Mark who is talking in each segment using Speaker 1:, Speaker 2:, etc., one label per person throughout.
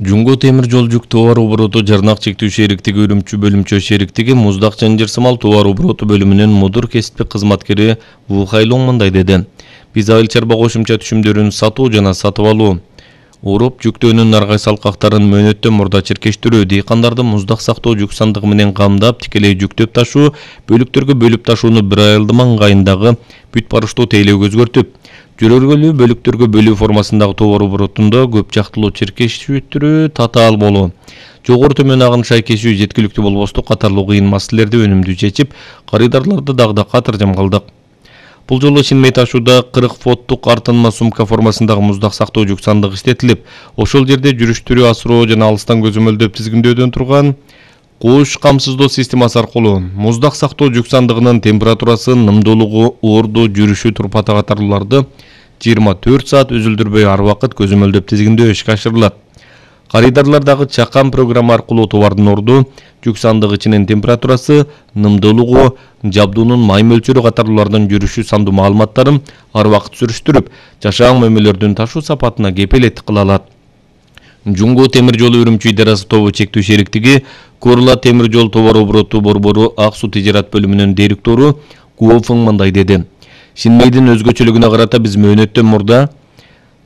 Speaker 1: Жуңго темир жол жүк товар обороту жарнак чектүү шериктиги Үрүмчү бөлүмчө шериктиги муздак жанжырсымал товар обороту бөлүмүнүн мудур кесиптик кызматкери Ву Хайлоң мындай деди. Биз айыл чарба кошумча түшүмдөрүн сатуу жана сатып алуу, уруп жүктөөнүн аргай салкактарын мөөнөттөн мурда черкештирүү, дыйкандарды муздак сактоо жүк сандыгы менен камдап, тикелей жүктөп ташуу, бөлүктөргө бөлүп ташууну бир айылдыма ыңгайындагы бүт барыштуу тейлөөгө өзгөртүп, жүрөргөлүү бөлүктөргө бөлүү формасындагы товар оборотунда көп жактылуу черкештирүү, татаал болуу, жогору төмөн агыныш айкешүү жеткиликтүү болбостук катарлуу кыйын маселелерди өнүмдүү чечип, карыдарларды дагы катыр жамгалдык. Бул жолу Шинмей ташууда 40 фоттук артынма сумка формасындагы муздак сактоо жүк сандыгы иштетилип, ошол жерде жүрүштүрүү, асыроо жана алыстан көзөмөлдөп тизгиндөөдөн турган куш камсыздоо системасы аркылуу муздак сактоо жүк сандыгынын температурасы, нымдуулугу, орду, жүрүшү, турпаты катарлууларды 24 саат үзүлдүрбөй ар убакыт көзөмөлдөп тизгиндөө ишке ашырылат. Карыдарлардагы чакан программа аркылуу товардын орду, жүк сандыгы ичинин температурасы, нымдуулугу, жабдуунун май мөлчөрү катарлуулардын жүрүшү сандуу маалыматтарын ар убакыт сүрүштүрүп, жашаан мөмөлөрдүн ташуу сапатына кепилеттик кыла алат. Жуңго темир жолу Үрүмчү идарасы тобу чектүү шериктиги Курла темир жол товар обороту борбору Ак суу тижарат бөлүмүнүн директору Гуофың мындай деди. Шинмейдин өзгөчөлүгүнө карата биз мөөнөттөн мурда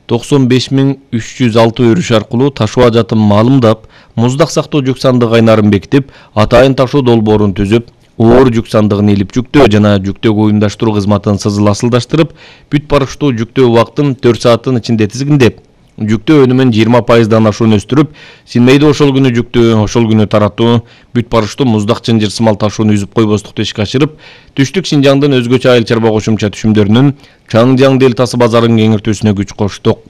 Speaker 1: 95.306 өрүш аркылуу ташуу ажатын маалымдап, муздак сактоо жүк сандыгы кайнарын бекитип, атайын ташуу долбоорун түзүп, оор жүк сандыгын илип жүктөө жана жүктөөгө уюмдаштыруу кызматын асылдаштырып, бүт барыштуу жүктөө убактын 4 сааттын ичинде тизгиндеп, жүктөө өнүмүн 20%дан ашуун өстүрүп, Шинмейде ошол күнү жүктөө, ошол күнү таратуу, бүт барыштуу муздак жанжырсымал ташууну үзүп койбостукту ишке ашырып, Түштүк Шинжаңдын өзгөчө айыл чарба кошумча түшүмдөрүнүн Чаңжаң делтасы базарын кеңиртүүсүнө күч коштук.